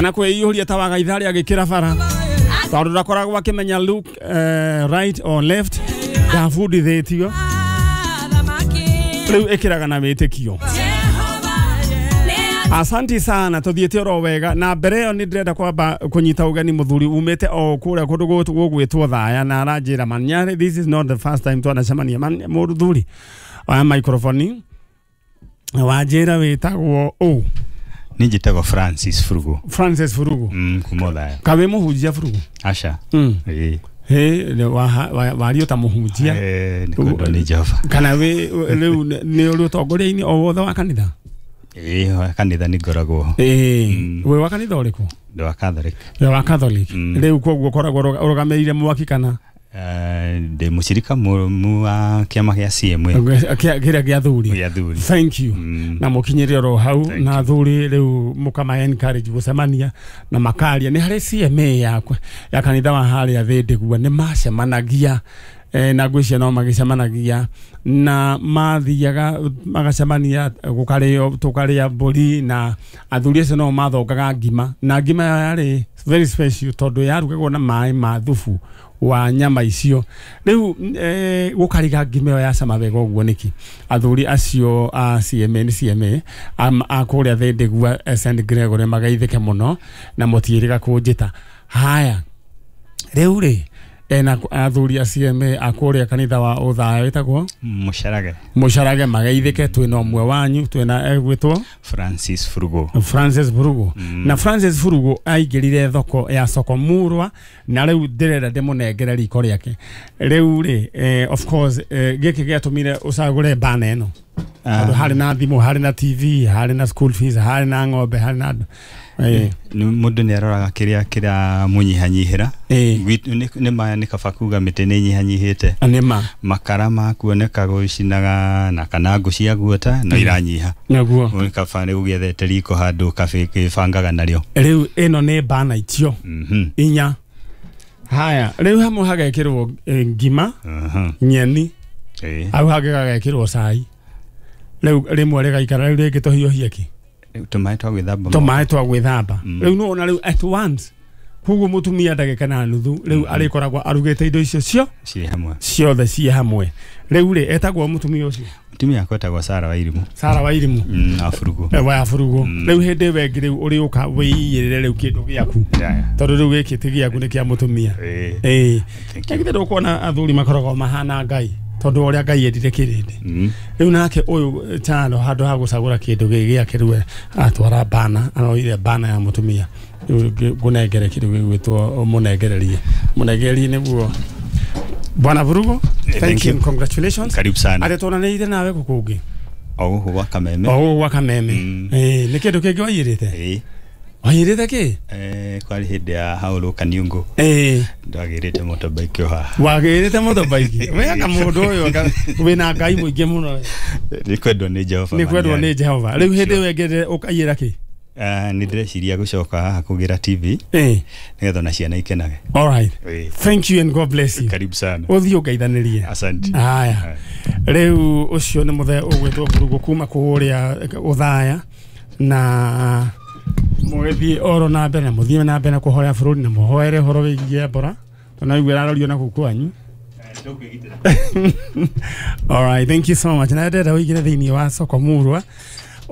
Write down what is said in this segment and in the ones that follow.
Kana kwĩiyũria ta wagaitharĩ agĩkĩra bara tondũ ndakoragwo akĩmenya look right or left ndabundithĩtio rĩu ĩkĩraga na wĩtĩkio. Asanti sana tuthiĩte oro wega na mbere ĩyo nĩ ndĩrenda kwamba kũnyita ũgeni mũthuri umĩte o kũrĩa kũndũ gũgwĩtwo Thaya na aranjĩra Manyarĩ, this is not the first time twanacemania. Mũthuri oya microphone wanjĩra wĩtagwo ũ? Niĩ njĩtagwo Francis Furugu. Francis Furugu. Kuma Thaya. Kawe mũhunjia Furugu? Aca. Ĩĩ. Wario ta mũhunjia. Nĩ kwendwo nĩ Jehova. Kana wĩ rĩu nĩ ũrĩ ũtongoria-inĩ o wothe wa kanitha? Ĩĩ, kanitha nĩ ngoragwo. Ĩĩ. Wĩ wa kanitha ũrĩkũ? Ndĩ wa Catholic. Wĩ wa Catholic. Rĩu koguo ũkoragwo ũrũgamĩrĩire mwaki kana? Ndĩ mũcirika mũrũmu wa kĩama gĩa CMA. Kĩrĩa gĩa athuri. Gĩa athuri. Thank you. Na mũkinyĩre oro hau na athuri rĩu mũkama encourage gũcemania na makaria. Nĩ harĩ CMA yakwa ya kanitha wa harĩa Thĩndĩgua nĩ macemanagia na ngwĩciria no magĩcemanagia na mathiaga magacemania gũkarĩo tũkarĩa mbũri na athuri acio no mathongaga ngima na ngima yarĩ very special tondũ yarugagwo na maĩ ma thubu wa nyama icio. Rĩu gũkariga ngima ĩyo yacama wega ũguo nĩkĩ? Athuri acio a CMA nĩ CMA a kũrĩa Thĩndĩgua St Gregory magaithĩke mũno na mũtiĩrĩga kũnjĩta. Haya rĩu rĩ ena athuri a CMA a kũrĩa kanitha wa Ũthaya wĩtagwo Mũcarage. Mũcarage magaithĩke twĩna ũmwe wanyu twĩna egwĩtwo Francis Furugu. Francis Furugu. Na Francis Furugu aingĩrire thoko ya Soko Murwa na rĩu ndĩrenda ndĩmũnengere riko rĩake. Rĩu rĩ of course gĩkĩ gĩatũmire ũcagũre bana ĩno tondũ harĩ na thimũ, harĩ na TV, harĩ na school fees, harĩ na ng'ombe, harĩ na andũ. Mũndũ nĩ aroraga kĩrĩa kĩramũnyihanyihĩra. Nĩ ma nĩ kaba kuga mĩtĩ nĩ ĩnyihanyihĩte. Nĩ ma. Makara makuoneka gũcinaga na kana ngũ cia guota no iranyiha. Nĩguo. Nĩ kaba nĩ ũgĩethete riko handũ ũgĩbangaga narĩo. Rĩu ĩno nĩ bana icio inya. Haya rĩu hamwe hagekĩrwo ngima, nyeni, hau hangĩ gagekĩrwo cai. Rĩu rĩmwe rĩgaikara rĩu rĩngĩ tũhiũhie kĩ? Tũmaĩ twa gwĩthamba. Tũmaĩ twa gwĩthamba. Rĩu nĩwona rĩu at once koguo mũtumia ndagĩka na nuthu rĩu arĩkoragwo arugĩte indo icio ciĩ hamwe ciothe ciĩ hamwe. Rĩu rĩ etagwo mũtumia ũcio? Mũtumia wakwa etagwo Sarah Wairimu. Sarah Wairimu. Wa Furugu. Wa Furugu. Rĩu hĩndĩ ĩyo ĩngĩ rĩu ũrĩũka wĩiyĩrĩre rĩu kĩndũ gĩaku tondũ rĩu gĩkĩ ti gĩaku nĩ kĩa mũtumia. Ĩĩ. Githĩ ndũkuona athuri makoragwo mahana Ngai tondũ ũrĩa Ngai endire kĩrĩndĩ. Rĩu nake ũyũ Chalo handũ ha gũcagũra kĩndũ gĩkĩ gĩake rĩu atwara bana, aroire bana ya mũtumia. Rĩu ngũnengere kĩndũ gĩgwĩtwo mũnengererie. Mũnengererie nĩguo. Bwana Furugu, thank you, congratulations. Karibu sana. Atĩ tuonanĩire nawe gũkũ ũngĩ? O gũkũ gwa Kameme. O gũkũ gwa Kameme. Ĩĩ, nĩ kĩndũ kĩngĩ waiyĩrĩte? Ĩĩ. Waiyĩrĩte kĩ? Kwarĩ hĩndĩ ya Haũrũ Kaniungu. Ĩĩ. Ndwagĩrĩte motorbike o haha. Wagĩrĩte motorbike? We anga mũndũ ũyũ wĩna Ngai mũingĩ mũno. Nĩ kwendwo nĩ Jehova. Nĩ kwendwo nĩ Jehova. Rĩu hĩndĩ ĩyo ĩngĩ ũkaiyĩra kĩ? Nĩ ndĩreciria gũcoka haha kũgĩra TV. Nĩgetha ona ciana ikenage. All right. Thank you and God bless you. Karibu sana. Ũthiĩ ũngeithanĩrie. Asante. Haya. Rĩu ũcio nĩ mũthee ũgwĩtwo Furugu kuma kũrĩa Ũthaya na mũgĩthiĩ oro na mbere na mũthiĩ na mbere na kũhoya bũrũri na mũhoere ũhoro wĩgiĩ Ebola tondũ naigua ĩrarorio na kũu kwanyu. All right, thank you so much. Na ndĩrenda ũingĩre thĩinĩ wa Soko Murwa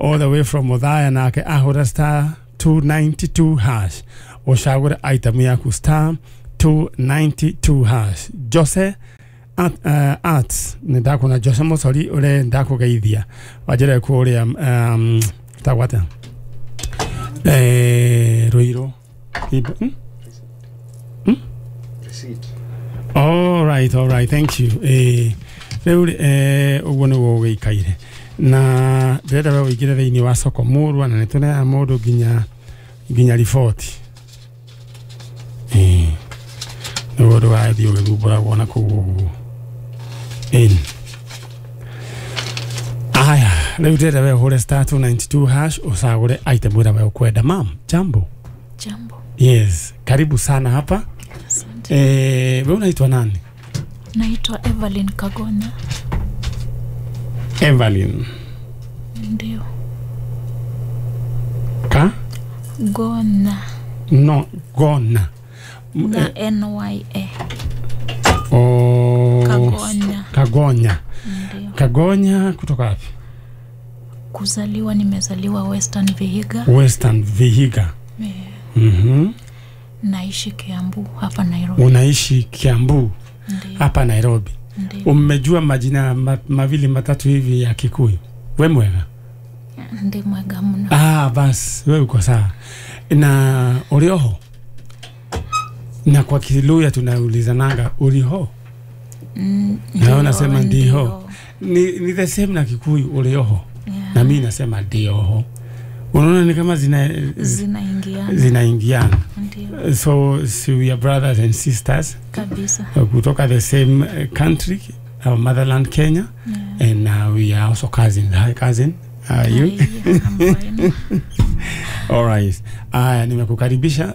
all the way from Othaya nake ahũra star 292 hash ũcagũre item yaku star 292 hash. Jose Arts nĩ ndakuona Jose Mũcori ũrĩa ndakũgeithia wanjĩre kũrĩa tagwo atĩa Ruiru. All right, thank you. Rĩu ũguo nĩguo ũgĩikaire na ndĩrenda we ũingĩre thĩinĩ wa Soko Murwa na nĩtũneaga mũndũ nginya riboti. Nĩguo ndũgathiĩ ũgĩthumbũragwo na kũu ũguo. Aya, rĩu ndĩrenda we ũhũre star 292 hash ũcagũre item ĩrĩa we ũkwenda. Ma'am, jambo. Jambo. Yes, karibu sana hapa. Asante. Wewe unaitwa nani? Naitwa Evelyn Kagona. Evelyn. Ndio. Ka? Gona. No, gona. Na NYA. Oh, Kagonya. Kagonya. Ndio. Kagonya kutoka wapi? Kuzaliwa nimezaliwa Western Vihiga. Western Vihiga. Yeah. Naishi Kiambu hapa Nairobi. Unaishi Kiambu hapa Nairobi. Ndiyo. Umejua majina mawili matatu hivi ya Kikuyu? We mwega? Ndi mwega mno. Ah, bas, we uko sawa. Na ulioho? Na kwa Kiluya tunaulizananga uliho? Na unasema ndiho. Ni the same na Kikuyu ulioho. Yeah. Na mimi nasema ndioho. Unaona ni kama zinaingiana. Zinaingiana. Ndiyo. So we are brothers and sisters. Kabisa. Kutoka the same country, our motherland Kenya. Yeah. And we are also cousins. Hi cousin. How are you? I'm fine. All right. Nimekukaribisha.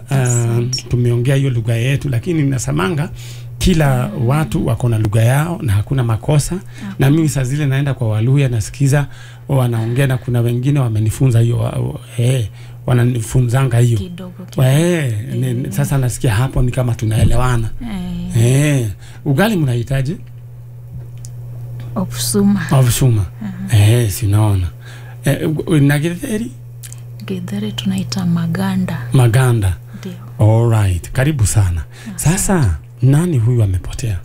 Tumeongea hiyo lugha yetu, lakini nasamanga kila watu wako na lugha yao na hakuna makosa. Na mimi saa zile naenda kwa Waluya nasikiza wanaongea, na kuna wengine wamenifunza hiyo, wananifunzanga hiyo kidogo. Sasa nasikia hapo ni kama tunaelewana. Ugali mnahitaji? Obsuma. Obsuma. Si unaona. Na githeri? Githeri tunaita maganda. Maganda. Ndio. All right. Karibu sana. Sasa nani huyu amepotea?